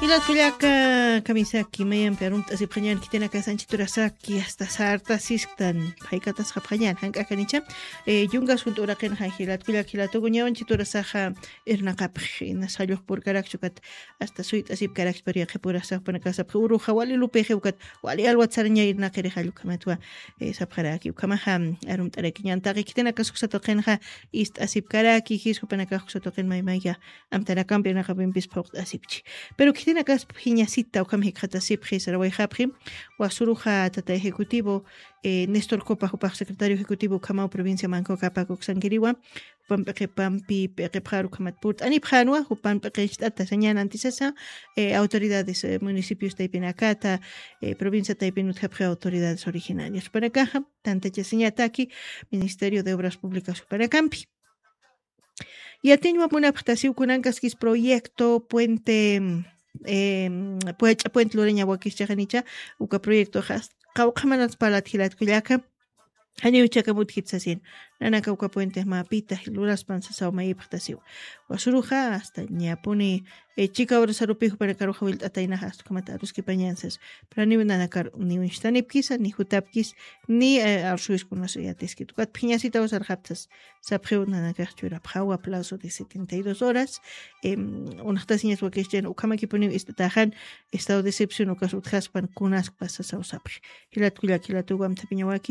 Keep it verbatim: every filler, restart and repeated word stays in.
Jilat kullaka, kamisaki mayampi arumt'asipxañan khitinakasanchi turasaki asta sartasisktan. Phayk'atasxapxañan jank'akanicha. Yungas junt'uraqinxa jilat kullak jilatukuñawanchi turasaxa irnaqapxi, na sallux purkarakchukat asta suyt'asipkarakchi pariqipurasaxpanakasapxi uruxa wali lupixiwkat. Wali alwatsaraña irnaqirixall ukhamatwa. Sapxaraki ukhamaxa arumt'arakiñan taqi khitinakasuksatuqinxa ist'asipkaraki jiskupanakaxkusatuqin maymayka amtarakampi irnaqapimpis phuqt'asipchi. Pero khitinakasp jiñasita ukham jikxatasipxi sarawayxapxi. Wasuruxa tata ejecutivo, néstor copa jupax secretario ejecutivo ukhamaw provincia manco kapak uksankiriwa. Jupan p'iqipampi p'iqipxar ukhamat purt'anipxanwa jupan p'iqincht'ata sañan antisasa autoridades municipios taypinakata, provincia taypin utjapxi autoridades originarias jupanakaxa tantachasiñataki ministerio de obras públicas jupanakampi. Yatiñwa munapxtasiw kunankaskis proyecto puente, puech'a puente luraña wakischaxanicha. Uka proyectoxa qawqhamanats palat jilatkullaka. Janiw chakamut jitsasin nanaka uka puente mapita luraspan sasaw mayipxtasiw. Wasuruxa asta ñapuni chika horasarupi jupanakaruxa wilt'ataynaxa asta ukhamata aruskipañansas. Pero niw nanakar niw instanipkisa ni jutapkis ni arsuwiskunas yatiskit ukat phiñasitaw sarxaptas. Sapxiw nanakax churapxawa plazo de setenta y dos horas. Unaxtasiñas wakixchan ukhamakipuniw ist'ataxan estado de excepción ukas utjaspan kunaskpa sasaw sapxi. Jilatkullak jilatuwamthapiñawak.